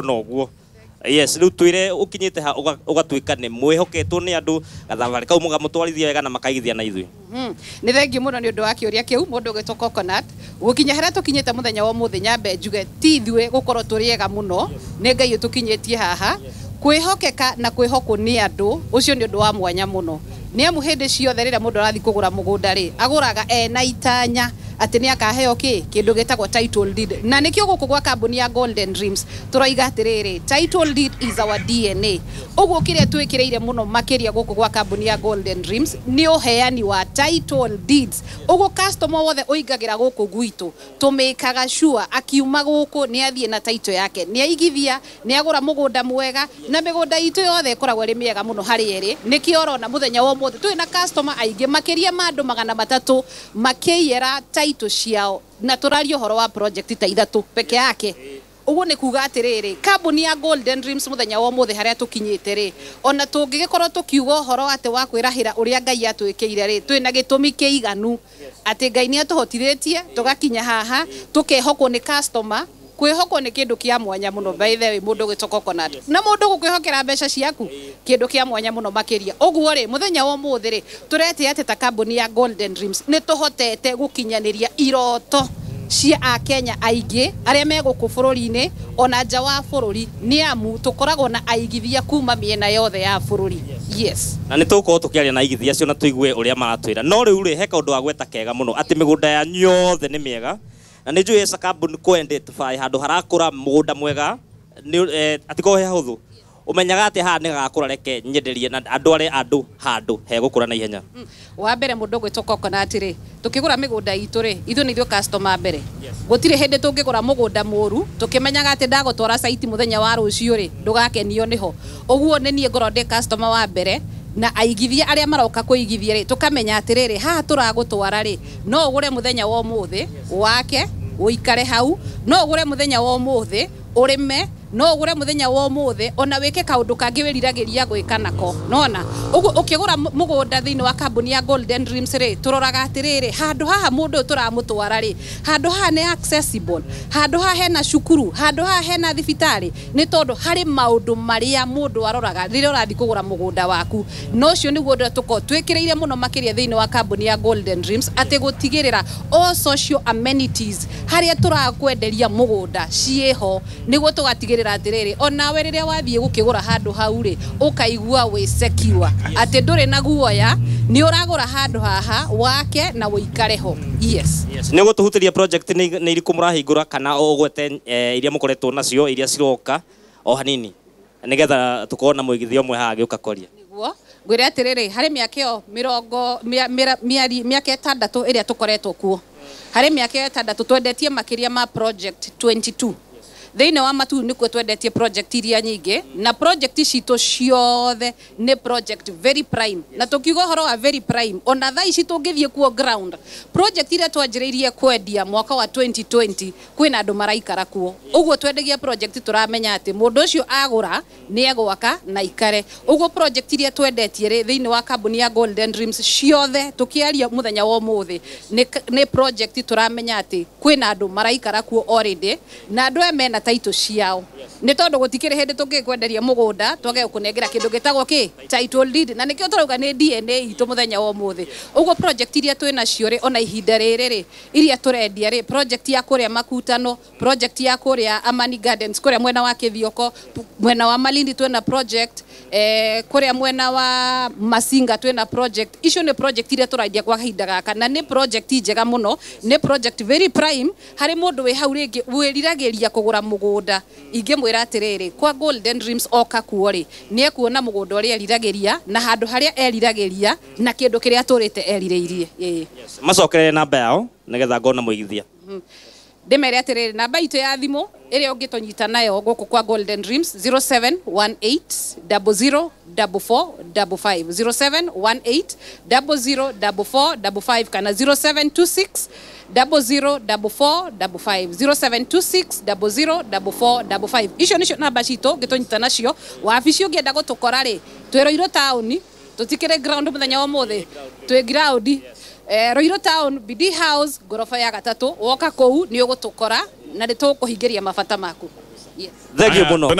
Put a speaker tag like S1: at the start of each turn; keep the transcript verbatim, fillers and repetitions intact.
S1: Na ũguo, yes, rĩu twĩre ũkinyĩte ha ũga- ũgatuĩka nĩ mwĩhoketwo nĩ andũ, gathabarĩ kau mũgamũtwarithia wega na makaigithia na ithuĩ.
S2: Mhm. Nĩ thengiũ mũno nĩ ũndũ wa kĩũria kĩu, mũndũ ũgwĩtwo Coconut. Gũkinya harĩa tũkinyĩte mũthenya wa ũmũthĩ, nyambe njuge ti ithuĩ gũkorwo tũrĩ ega mũno, nĩ Ngai ũtũkinyĩtie haha. Kwĩhokeka na kwĩhokwo nĩ andũ, ũcio nĩ ũndũ wa mwanya mũno, nĩ amu hĩndĩ ciothe rĩrĩa mũndũ arathiĩ kũgũra mũgũnda rĩ, agũraga ena itanya atĩ nĩ akaheo kĩ kĩndũ gĩtagwo title deed. Na nĩkĩo gũkũ gwa kambuni ya Golden Dreams tũroiga atĩrĩrĩ, title deed is our D N A. Ũguo kĩrĩa twĩkĩrĩire mũno makĩria gũkũ gwa kambuni ya Golden Dreams nĩ ũheani wa title deeds. Ũguo customer wothe ũingagĩra gũkũ gwitũ, tũmĩkaga sure akiuma gũkũ nĩ athiĩ na title yake, nĩ aigithia, nĩ agũra mũgũnda mwega. Na mĩgũnda itũ yothe ĩkoragwo ĩrĩ mĩega mũno harĩ ĩrĩ. Nĩkĩo ũrona mũthenya wa ũmũthĩ twĩ na customer aingĩ makĩria ma andũ magana matatũ makĩiyĩra title ciao, na tũraria ũhoro wa project ta ithatũ peke yake. Ũguo nĩ kuga atĩrĩrĩ, kambuni ya Golden Dreams mũthenya wa ũmũthĩ harĩa tũkinyĩte rĩ, ona tũngĩgĩkorwo tũkiuga ũhoro atĩ wa kwĩrahĩra ũrĩa Ngai atwĩkĩire rĩ, twĩna gĩtũmi kĩiganu atĩ Ngai nĩ atũhotithĩtie tũgakinya haha, tũkehokwo nĩ customer. Kwĩhokwo nĩ kĩndũ kĩa mwanya mũno, by the way, mũndũ ũgwĩtwo Coconut, na mũndũ gũkwĩhokera mbeca ciaku, kĩndũ kĩa mwanya mũno makĩria. Ũguo rĩ, mũthenya wa ũmũthĩ rĩ, tũretĩa atĩ ta kambuni ya Golden Dreams nĩ tũhotete gũkinyanĩria iroto cia akenya aingĩ arĩa me gũkũ bũrũri-inĩ ona nja wa bũrũri, nĩ amu tũkoragwo na aigithia kuma mĩena yothe ya bũrũri, yes.
S1: Na nĩ tũgũkorwo tũkĩaria na aigithia acio na tũigue ũrĩa maratwĩra. No rĩu rĩ, he kaũndũ wa gweta kega mũno atĩ mĩgũnda yanyu yothe nĩ mĩega, na nĩ njũĩ esa kambuni kũ identify handũ harakũra mũgũnda mwega nĩ eh, atikorwo he hahũthũ. Ũmenyaga atĩ haha nĩ gagakũra, reke nyenderie na andũ arĩa andũ handũ hegũkũra na ihenya?
S2: Wa mbere, mũndũ ũgwĩtwo Coconut rĩ, tũkĩgũra mĩgũnda itũ rĩ, ithuĩ nĩ ithuĩ customer mbere. Gũtirĩ hĩndĩ tũngĩgũra mũgũnda mũru tũkĩmenyaga atĩ ndagũtwara site mũthenya wa rũciũ rĩ, ndũgakenio nĩho. Ũguo nĩ niĩ ngorwo ndĩ customer wa mbere, na aigithia arĩa maroka kũigithia rĩ, tũkamenya atĩrĩrĩ, haha tũragũtwara rĩ, no ũgũre mũthenya wa ũmũthĩ wake ũikare hau, no ũgũre mũthenya wa ũmũthĩ ũrĩme, no ũgũre mũthenya wa ũmũthĩ ona wĩke kaũndũ kangĩ wĩriragĩria gwĩka nako nona. Ũguo ũkĩgũra mũ- mũgũnda thĩinĩ wa kambuni ya Golden Dreams rĩ, tũroraga atĩrĩrĩ, handũ haha mũndũ ũyũ tũramũtwara rĩ, handũ haha nĩ accessible, handũ haha hena cukuru, handũ haha hena thibitarĩ, nĩ tondũ harĩ maũndũ marĩa mũndũ aroraga rĩrĩa ũrathiĩ kũgũra mũgũnda waku. Na ũcio nĩguo ũndũ ũrĩa tũkoragwo twĩkĩrĩire mũno makĩria thĩinĩ wa kambuni ya Golden Dreams, atĩ gũtigĩrĩra all social amenities harĩa tũrakwenderia mũgũnda ciĩho, nĩguo tũgatigĩrĩra atĩrĩrĩ, onawe rĩrĩa wathiĩ gũkĩgũra handũ hau rĩ, ũkaigua wĩ secure atĩ ndũrĩ na guoya, nĩ ũragũra handũ haha wake na ũikare ho, yes.
S1: Yes. Nĩ ũgũtũhutĩria project nĩ nĩ irĩkũ mũrahingũra, kana ũgwete eh, iria mũkoretwo nacio, iria ciroka o hanini, nĩgetha tũkorwo na mũigithia ũmwe haha agĩũka kwaria?
S2: Nĩguo ngwĩre atĩrĩrĩ, harĩ mĩaka ĩyo mĩrongo mĩa- mĩra- mĩari mĩaka ĩtandatũ ĩrĩa tũkoretwo kuo, harĩ mĩaka ĩyo ĩtandatũ twendetie makĩria ma project mĩrongo ĩrĩ na igĩrĩ. Thĩinĩ wa Matuu nĩkuo twendetie project iria nyingĩ, na project citũ ciothe nĩ project very prime. Na tũkiuga ũhoro wa very prime, ona thaa ici tũngĩthiĩ kuo ground, project iria twanjĩrĩirie kwendia mwaka wa elfu mbili ishirini kwĩna andũ maraikara kuo. Ũguo twendagia project tũramenya atĩ mũndũ ũcio agũra nĩ egwaka na ikare. Ũguo project iria twendetie rĩ, thĩinĩ wa kambuni ya Golden Dreams ciothe tũkĩaria mũthenya wa ũmũthĩ nĩ nĩ project tũramenya atĩ kwĩna andũ maraikara kuo already, na andũ aya mena title ciao, nĩ tondũ gũtikĩrĩ hĩndĩ tũngĩkwenderia mũgũnda twage gũkũnengera kĩndũ gĩtagwo kĩ title deed. Na nĩkĩo tũrauga nĩ D N A itũ mũthenya wa ũmũthĩ. Ũguo project iria twĩ nacio rĩ, ona ihinda rĩrĩ rĩ, iria tũrendia rĩ, project ya kũrĩa Makutano, project ya kũrĩa Amani Gardens kũrĩa mwena wa Kĩthioko, mwena wa Malindi twĩna project, eh, kũrĩa mwena wa Masinga twĩna project. Icio nĩ project iria tũrendia kwa kahinda gaka, na nĩ project njega mũno, nĩ project very prime harĩ mũndũ wĩ hau rĩngĩ wĩriragĩria kũgũra mũgũnda. Ingĩmwĩra atĩrĩrĩ, kwa Golden Dreams oka kuo rĩ, nĩ ekuona mũgũnda ũrĩa eriragĩria na handũ harĩa eriragĩria na kĩndũ kĩrĩa atũrĩte erirĩirie. Ĩĩ.
S1: Macokerere namba yao nĩgetha ngona mũigithia.
S2: Ndĩmere atĩrĩrĩ, namba itũ ya thimũ ĩrĩa ũngĩtũnyita nayo gũkũ kwa Golden Dreams, zero seven one eight zero zero four four five five, zero seven one eight zero zero four four five five, kana zero seven two six zero zero four four five five, zero seven two six zero zero four four five five. Icio nĩcio namba citũ ũngĩtũnyita nacio. Wabici ũngĩenda gũtũkora rĩ, twĩ Ruiru taũni, tũtikĩrĩ ground mũthenya wa ũmũthĩ, twĩ ground eh, Ruiru town, B D House, ngoroba ya gatatũ. Woka kũu nĩ ũgũtũkora na nĩ tũkũhingĩria mabata maku. Yes.
S1: Thank you
S3: Aya,
S1: mũno.